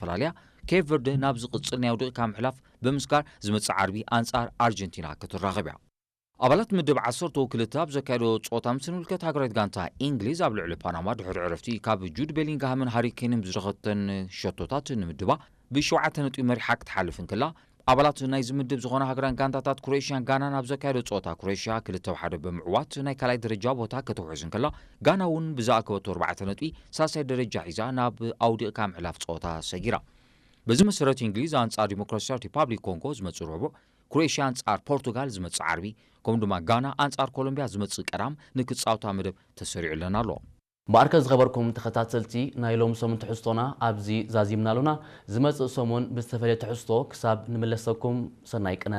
ፈላልያ፣ ኬፕ ቨርደ ናብ ዝቕጽል ናይ ውድቕካ ምሕላፍ ብምስጋር ዝመጽእ ዓርቢ ኣንጻር ኣርጀንቲና ክትራኸብ እያ። ኣባላት ምድብ ዓሰርተ ክልተ ኣብ ዘካየዶ ጸወታ ምስ ንምልከት ሃገራዊት ጋንታ እንግሊዝ ኣብ ልዕሊ ፓናማ ድሕሪ ዕረፍቲ ካብ ጁድ ቤሊንግሃምን ሃሪ ኬንን ብዝረኸተን ሸቶታት ንምድባ ብሸውዓተ ነጥቢ መሪሓ ክትሓልፍ እንከላ፣ ኣባላት ናይዚ ምድብ ዝኾና ሃገራን ጋንታታት ክሮኤሽያን ጋናን ኣብ ዘካየዶ ጸወታ ክሮኤሽያ ክልተ ብሓደ ብምዕዋት ናይ ካልኣይ ደረጃ ቦታ ከተውሕዝ እንከላ፣ ጋና እውን ብዝኣከበቶ ኣርባዕተ ነጥቢ ሳልሳይ ደረጃ ሒዛ ናብ ኣውዲቕካ ምሕላፍ ጸወታ ሰጊራ። በዚ መሰረት እንግሊዝ ኣንጻር ዲሞክራሲያዊት ሪፓብሊክ ኮንጎ ዝመጽእ ረቡዕ፣ ክሮኤሽያ ኣንጻር ፖርቱጋል ዝመጽእ ዓርቢ፣ ከምኡ ድማ ጋና ኣንጻር ኮሎምቢያ ዝመጽእ ቀዳም ንክጻወታ መደብ ተሰሪዑለን ኣሎ። እምበኣርከ ዝኸበርኩም ተኸታተልቲ ናይ ሎም ሰሙን ትሕዝቶና ኣብዚ ዛዚምና ኣሎና። ዝመጽእ ሰሙን ብዝተፈለየ ትሕዝቶ ክሳብ ንምለሰኩም ሰናይ ቅነ።